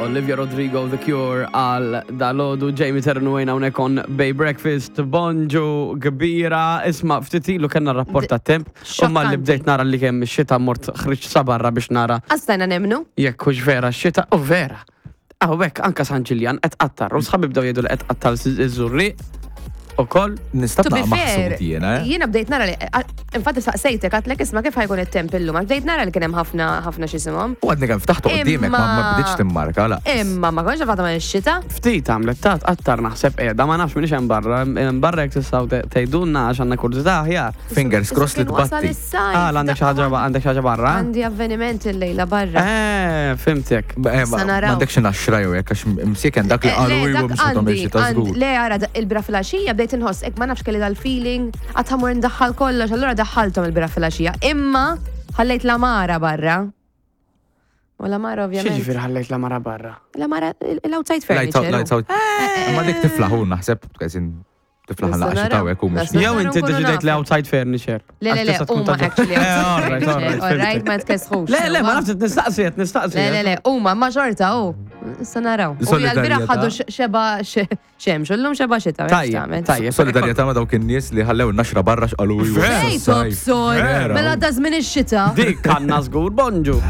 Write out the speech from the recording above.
Olivia Rodrigo, The Cure għal dalodu, Jamie Ternuwejn hawnhekk on Bay Breakfast, bonġu kbira, isma' ftit ilu kellna rapport ta' temp, u malli Xokkanti. bdejt nara li kemm ix-xita mort ħriġt sa barra biex nara Għastajna nemnu. jekk hux vera x-xita, u vera. Hawnhekk anka San Ġiljan qed qattar, u sħabi bdew jgħidu li qed qattar iż-Żurrieq ukoll. Nista' To be naqma fair, maħsud jiena, eh? jiena bdejt nara li, infatti saqsejtek, għatlek isma kif ħajkun it-temp illum, għax bdejt nara li kien hemm ħafna ħafna x'isimhom. U għadni kemm ftaħtu quddiemek ma ma Imma- bdietx timmarka la. Imma ma konx għafata ma x-xita. Ftit għamlet ta' tqattar naħseb qiegħda ma nafx minix hemm barra, hemm barra jekk tistgħu te- tgħidulna għax għandna kurżità aħjar. Fingers crossed li Kien wasal tbatti. is-sajf. Ah, għandek xi ħaġa għandek xi ħaġa barra? Għandi avveniment il-lejla barra. Eh, fimtek. Eh, ma Sa naraw. m'għandekx naxra jew hekk għax msiken dak li Eh, qalu le, ilu dak mhux ħatom għandi, il-xita għandi- żgur. Le, ara, da- il-bira filgħaxija bdejt inħoss, ek ma nafx kelli dal-feeling, għad ħamur ndaħħal kollox, allura daħħalthom il-bira filgħaxija. Imma ħallejt la mara barra. U la mara ovvjament. X'jiġifieri ħallejt la mara barra? La mara, l-outside Lights out, furniture. lights out. Eh, Ma dik tiflaħu naħseb, kazin tiflaħ Nista' naqxa naraw. ta' hekk u mhux. Nista' Jew inti nkunu deċidejt li nafu. outside furniture. Le, le, Għax le, tista' tkun huma ta' actually Eh, outside alright, furniture. alright, Alright, fimtek. ma tkesħux. Le, le, ma nafx nistaqsi, qed nistaqsi. Le, le, le, huma ma xorta, u. Issa naraw. U Solidarjetà. l-bira ħadu xeba xemx, u llum xeba xita. Tajjeb, tajjeb. Solidarjetà ma dawk in-nies li ħallew naxra barra x'qalu ilu. Ej, tobsor, Vera. mela da żmien ix-xita. Dik għandna żgur bonġu.